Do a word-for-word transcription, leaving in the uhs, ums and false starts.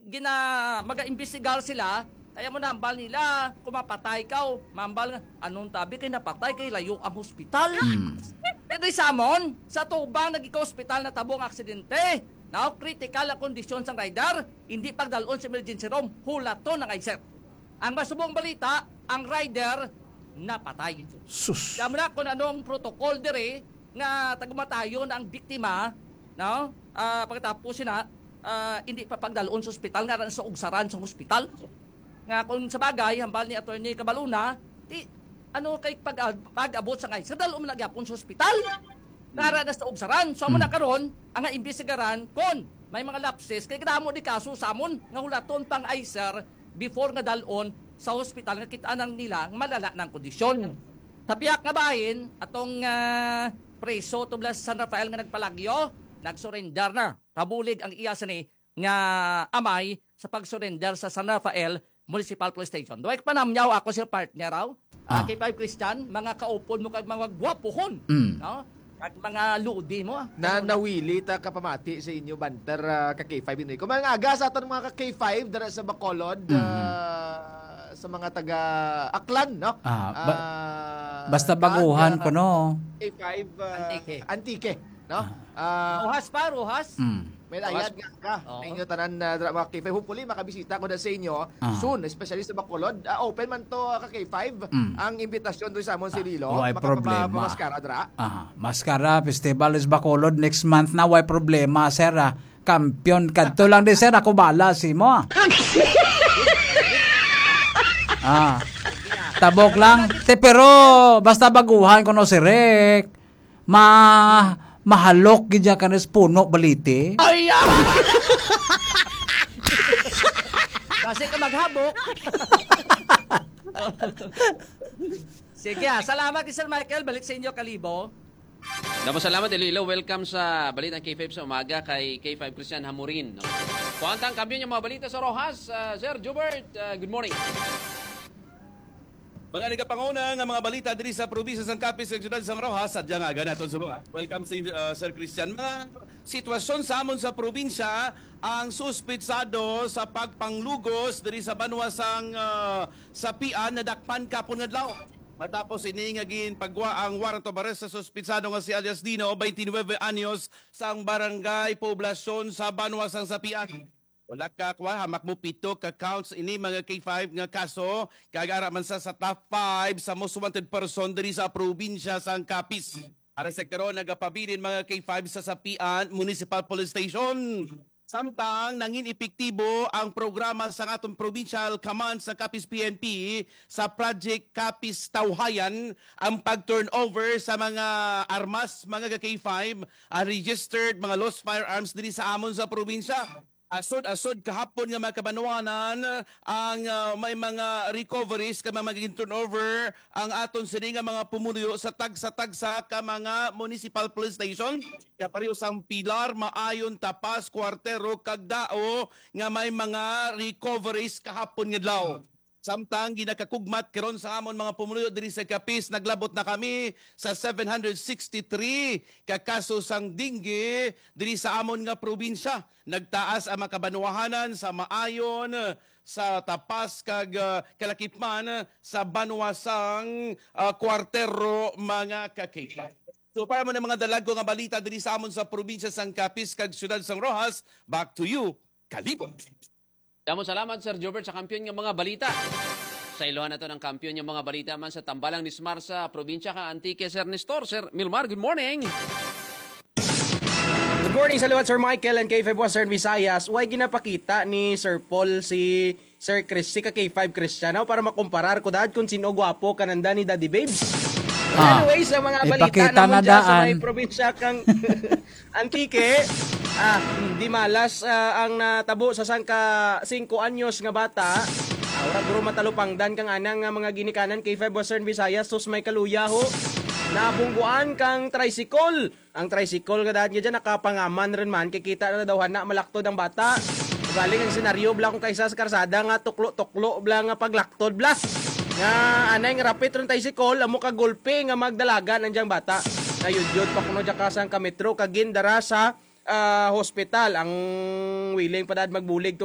gina-, mag-imbestigar sila, kaya mo nambal nila, kung mapatay ka, o mambal nga, anong tabi kay napatay kay layo ang hospital? Mm. Pero sa amon, sa tubang nagika-hospital na tabo ang aksidente. Now, critical ang kondisyon sang rider, hindi pagdalon sa emergency room, hulaton ang I C E R. Ang masubong balita, ang rider napatay. Sus. Kamo na kung anong protocol diri nga tagumatayon ang biktima, no? Ah, pagkatapos sina, ah, hindi pa pagdalon sa ospital nga sa ugsaran sa ospital. Nga kung sa bagay, hambal ni Attorney Cabaluna, ti, ano kay pag, pag-abot sa ngay, sa dalo man na gyapon sa ospital. Nara na sa ugsaran. So, amo na karon, ang imbestigaran kon may mga lapses, kay kadamo di kaso sa amon nga hulaton pang I C E R before nga dalon sa hospital nga kita nang nila nga malala na ang kondisyon. Sa piyak nga bahin, atong, ah, preso tubla sa San Rafael nga nagpalagyo, nagsurrender na. Kabulig ang iya sini nga amay sa pag-surrender sa San Rafael Municipal Police Station. Duway panamyaw ako, sir, partner, raw. Ah. K five Christian, mga kaupod mo kag mga gwapuhon, Mm. no? Kag mga lodi mo. Na nawili ta kapamati sa inyo banter, ah, ka K five Inoy. Kung mga aga sa aton mga ka K five dara sa Bacolod, Mhm. ah, sa mga taga Aklan, no? Ah, ba-, Ah, basta kag, baguhan ah, ko, no? K five, ah, Antique. Antique, no? Ah. Ah, Roxas pa, Roxas? Mm. May Roxas. Layad nga ka. Oo. Inyo tanan, ah, dra-, mga K five. Hopefully, makabisita ko na sa inyo Ah. soon, especially sa Bacolod. Ah, open man to, ah, ka K five. Mm. Ang imbitasyon doon sa amon si Ah, Lilo. Wala Makapapa-, problema. Pamaskara, dra. Ah, Maskara Festival is Bacolod next month na. Wala problema, sir, ah. Kampiyon kadto lang di, sir. Ako bala si mo, ah. Ah. Tabok lang. Te, pero basta baguhan ko no si Rick. Ma-, mahalok gid siya kanis puno baliti. Ay, ah! Kasi ka maghabok. Sige, ah. Salamat kay Sir Michael. Balik sa inyo, Kalibo. Damo salamat, Iloilo. Welcome sa Balitang K five sa umaga kay K five Christian Hamurin, no? Kuwanta ang kampiyon yung mga balita sa Roxas. Ah, Sir Jubert, ah, good morning. Mga nagapanguna nga mga balita diri sa probinsya sang Capiz, sa siyudad sang Roxas, sa Diangaga naton sa mga. Welcome, si, ah, Sir Christian. Mga sitwasyon sa amon sa probinsya, ang suspitsado sa pagpanglugos diri sa banwa sang, ah, Sapian nadakpan kapon nga adlaw. Matapos ini nga ginpagwa ang warrant of arrest sa suspitsado nga si alias Dino, twenty-nine anyos, sang barangay Poblacion sa banwa sang Sapian. Wala ka kwa, hamak mo pito ka counts ini mga K five nga kaso, kag ara man sa, sa top five sa most wanted person diri sa probinsya sang Capiz. Ara sa karon, nagapabilin mga K five sa Sapian Municipal Police Station. Samtang nangin epektibo ang programa sa aton provincial command sa Capiz P N P sa Project Capiz Tawhayan, ang pag-turnover sa mga armas, mga ka K five, unregistered, mga lost firearms diri sa amon sa probinsya. Asod-asod kahapon nga mga kabanwanan ang, ah, may mga recoveries kag mga gin-turnover ang aton sini nga mga pumuluyo sa tagsa-tagsa ka mga municipal police station. Kapareho sang Pilar, Maayon, Tapas, Cuartero, kag Dao nga may mga recoveries kahapon nga adlaw. Samtang ginakakugmat karon sa amon mga pumuluyo diri sa Capiz, naglabot na kami sa seven hundred sixty-three ka kaso sang dengue diri sa amon nga probinsya. Nagtaas ang mga kabanwahanan sa Maayon, sa Tapas, kag, ah, kalakip man sa banwa sang, ah, Cuartero, mga ka-K five. So, para mo na mga dalagko nga balita diri sa amon sa probinsya sang Capiz kag siyudad sang Roxas, back to you, Kalibo. Damo salamat, Sir Jobert, sa kampiyon nga mga balita. Sa ilohan nato ng kampiyon nga mga balita man sa Tambalang Nismar sa probinsya ka Antique, Sir Nestor. Sir Milmar, good morning. Good morning sa liwat, Sir Michael and K five Western Visayas. Way ginapakita ni Sir Paul si Sir Chris, si ka K five Christian, aw, para makumparar ko dad kung sino gwapo kananda ni Daddy Babes. Ah, Anyway, sa mga balita ipakita naman na dyan sa daan. May probinsya kang Antique, ah, di malas, ah, ang natabo sa sangka singko anyos nga bata. Ah, ura guro matalupangdan kang anang nga mga ginikanan K five Western Visayas, sus may kaluya ho. Nabungguan kang tricycle. Ang tricycle nga daan nga dyan, nakapangaman rin man, kay kita na daw hana, malaktod ang bata. Galing ang senaryo, bla, kung kaisa sa karsada nga tuklo-tuklo, bla, nga paglaktod, bla. Nga anay nga rapit rin tricycle, amo ka gulpe nga magdalagan ang dyang bata. Nayudyod pa kuno dyan ka sang kametro, kagin dara sa, ah, hospital. Ang willing pa dad magbulig to